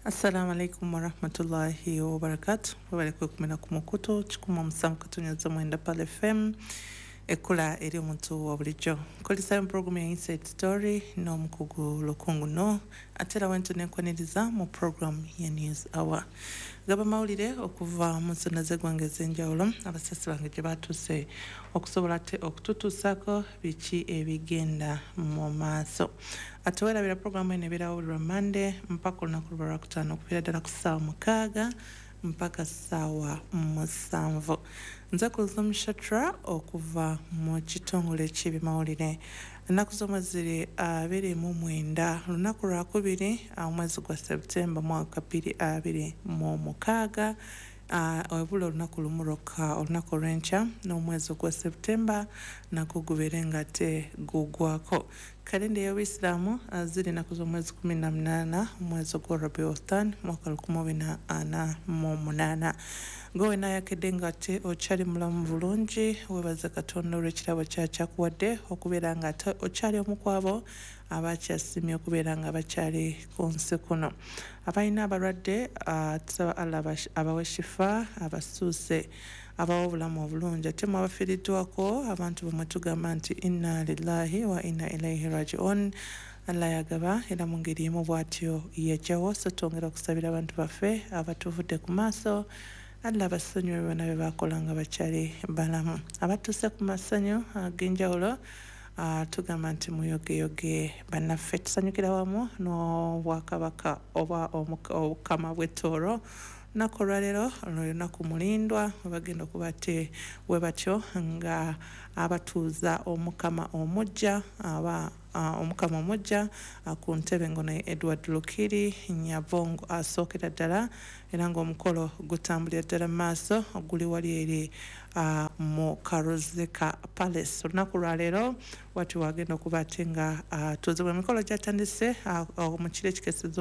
Assalamu alaikum warahmatullahi wabarakatu. Webale kwekumira ku mukutu 107.9 Pal FM, ekkula eri omuntu wa bulijjo. Nkulisayo mu programu ya Inside Story n'omukugu Lukungu no ate era wento nenkwaniriza mu programu ya News Hour. Gaba mawulire okuva mu nsonda z'eggwanga ez'enjawulo abasasi bange gye batuuse okusobola ate okututuusaako biki ebigenda mu maaso. Ate weerabira programu eno ebeerawo buli lwa Mande mpaka olunaku lwa Lwakutaano okuviira ddala ku ssaawa 6 mpaka ssaawa 7. Nze Kulthum Shatra okuva mu kitongole ky'ebyamawulire. Ennaku z'omwezi ziri 29, lunaku lwakubiri, omwezi gwa Septemba mwaka 2026. Webula olunaku lumu lwokka, olunaku olw'enkya n'omwezi ogwa Septemba nagwo gubeere nga ate gugwako. Kalenda ey'Obuyisiraamu ziri ennaku z'omwezi 18 omwezi ogwa Rabiul Thani mwaka 1448. Gwe wenna ayakedde nga ate okyali mulamu bulungi, weebaze Katonda olw'ekirabo kyakyakuwadde okubeera nga ate okyali omu ku abo abakyasiimye okubeera nga bakyali ku nsi kuno. Abalina abalwadde, tusaba Allah abawe shifa, abasuuse, abawe obulamu obulungi. Ate mwe abafiiriddwako abantu bamwe tugamba nti inna lillahi wa inna ilaihi rajiun. Allah yagaba era mu ngeri emu bw'atyo yajjawo, so twongera okusabira abantu baffe abatuvudde ku maaso, Allah abasonyiwe byonna bye baakola nga bakyali balamu. Abatuuse ku masanyu ag'enjawulo, tugamba nti muyogeyoge bannaffe, tusanyukira wamu n'obwakabaka oba obukama bw'Ettooro. Lunaku olwaleero lwe lunaku mulindwa webagenda okuba ate we batyo nga abatuuza omukama omujja aba omukama omujja ku ntebe ngono ye Edward Lukiri Nyabongo asookera ddala, era ng'omukolo gutambulira ddala mu maaso guli wali eri mu Karuzika Palace. Olunaku lwaleero wati wagenda okuba ate nga atuuzibwa, emikolo gyatandise mu kiro ekikeesezza.